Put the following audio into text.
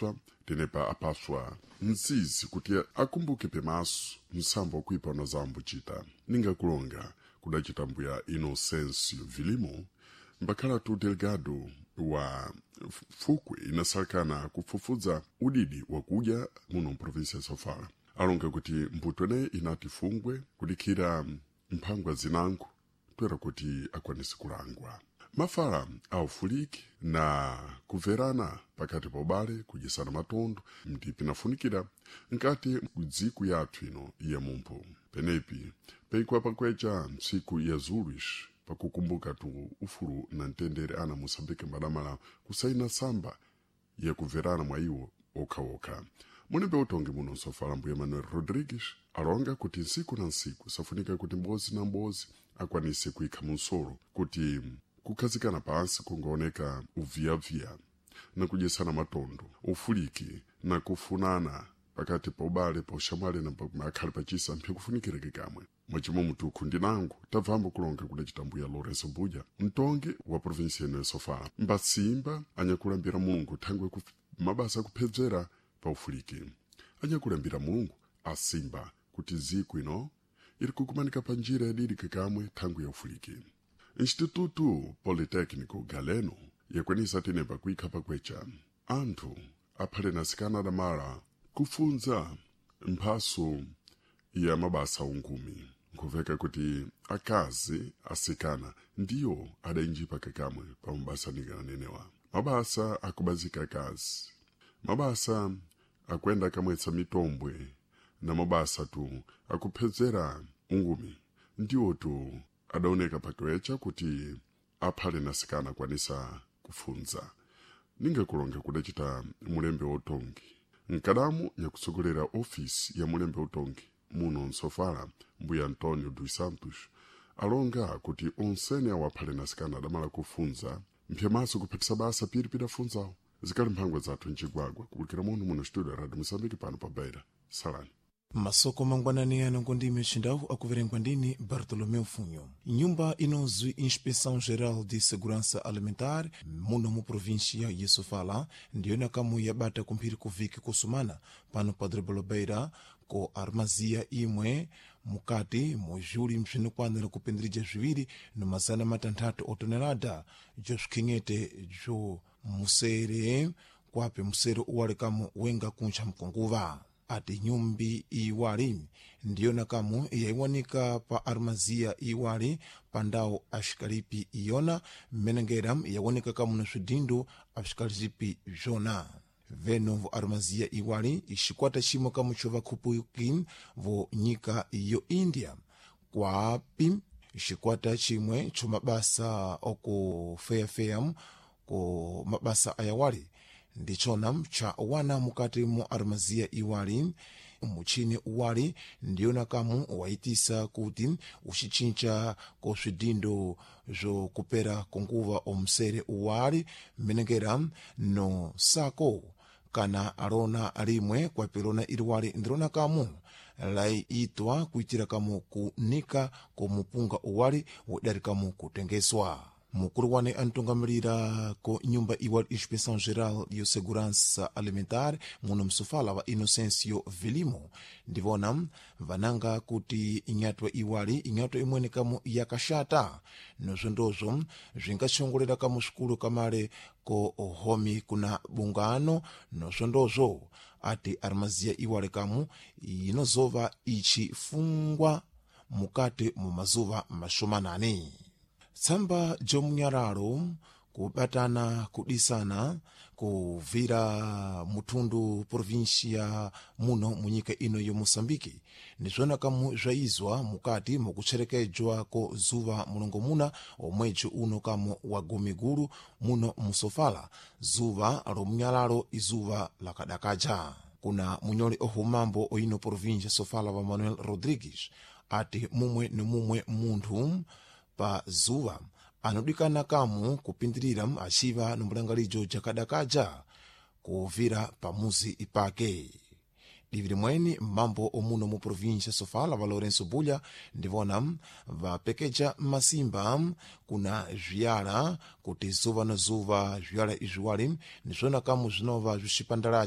Apswa tenepa apaswa mzizi kuti akumbuke pemaso msambo wakuipa na zambuchita ningakulonga kudacita mbuya Inocêncio Vilimo mbakhala tu delegado wa fukwe inasalakana kufufudza udidi wakudya muno mprovinsia ya Sofala alonga kuti mbuto eneyi inati fungwe kudikhira mphangwa zinango toera kuti akwanise kulangwa mafala aufuliki na kuverana pakati pa ubale kudyesana matondo ndi pinafunikira nkati kudziku yathu ino ya mumphu penepi peikwa pakwecha ntsiku ya Zulus pakukumbuka tu ufulu na mtendere ana Moçambique mbadamala kusaina samba yakuverana mwa iwo okhaokha munembe utongi muno nsofala mbuya Manuel Rodrigues alonga kuti nsiku na nsiku safunika kuti mbozi na mbozi akwanise kuikha munsolo kuti kukhazikana pansi kungaoneka uviyaviya na kudyesana matondo ufuliki na kufunana pakati pa ubale pa uxamwali na akhali pachisa mphe kufunikireke kamwe mwacimo mutukhu ndinango tabvambo kulonga kudacita mbuya Lourenço Buja mtongi wa provinsia ino ya Sofala mbatsimba anyakulambira Mulungu thangwe mabasa akuphedzera pa ufuliki anyakulambira Mulungu asimba kuti ziku ino iri kukumanika pa njira yadidike kamwe thangwe ya ufuliki. Instituto Politécnico Galeno yakwanisa tenepa kuikha pakwecha anthu aphale na sikana adamala kufunza mphaso ya mabasa ungumi nkuveka kuti akazi asikana ndiyo adainjipa kakamwe pa mabasa ninganenewa mabasa akubazika akazi mabasa akuenda akamwetsa mitombwe na mabasa tu akuphedzera ungumi ndiwo tu adaoneka pakiwecha kuti aphale na sikana akwanisa kufunza ningakulonga kudacita mulembe wotongi nkadamu nyakutsogolera ofisi ya mulembe utongi muno nsofala mbuya Antonio dos Santos alonga kuti onsene awo aphale na sikana adamala kufunza mphyamaso kuphatisa basa piri pidafunzawo zikali mphangwa zathu mcigwagwa kubulikira muno muno studio ya Radio Moçambique pano pa Beira. Salani Masoko mangwanani ano ngondime chindau akuverengwa ndini Bartolomeu Funho. Nyumba inozwi Inspeção Geral de Segurança Alimentar muno mu província ya Sofala ndiyona kamu yabata kumphiri kuviki kusumana pano pa Beira ko armazia imwe mukati mujuli msvinokwanira kupindirija zviwiri no 600 otonelada josvikheng'ete jo musere kwape musere uwalekamu wenga kuncha mkonguva ati nyumbi iwali ndiyona kamu yaiwanika pa armazia iwali pa ndawu axikalipi iyona mmenengera yawanika kamu na swidindo axikalipi bzona veno vo armazia iwali xikwata ximwe kamu xo vakhupuki vo nyika yo India kwapi xikwata ximwe xo mabasa okufeyafeya ku mabasa ayawali ndichona cha wana mukati mu armazia iwali muchini uwali ndiyona kamu waitisa kuti uxichincha ko swidindo zokupera konguva omsere uwali mmenengera no sako kana alona limwe kwapilona iliwali ndilona kamu laiitwa kuitira kamu kunika komupunga uwali wodali kamu kutengeswa. Mukulu wane antungamirira ko nyumba iwali Inspeção Geral de Segurança Alimentar muno msofala wa Inocêncio Vilimo ndivona vananga kuti inyatwa iwali inyatwa imwene kamu yakaxata nozvondozvo zvingaxongolera kamu xikulu kamale ko homi kuna bungano nozvondozvo ati armazia iwali kamu inozova ichifungwa mukati mu mazuva mashomanani. Tsamba jomunyalalo kubatana kudisana kuvira muthundu província muno munyika ino yo Moçambique nizvona kamu zvaizwa mukati mukutcherekedzwa ko zuva mulongomuna omwedzi uno kamu wa gumigulu muno musofala zuva lomunyalalo izuva lakadakaja. Kuna munyoli ohumambo oino província Sofala wa Manuel Rodrigues ati mumwe ni mumwe munthu pa zuva anodikana kamu kupindirira axiva nomulangalijo jakadakaja kuvira pamuzi pake. Divi limweni mambo omuno mu província Sofala va Lourenço Bulha ndivona vapekeja masimba kuna zviyala kuti zuva na zuva zviyala izviwali nizvona kamu zvinova zvixipandalaja.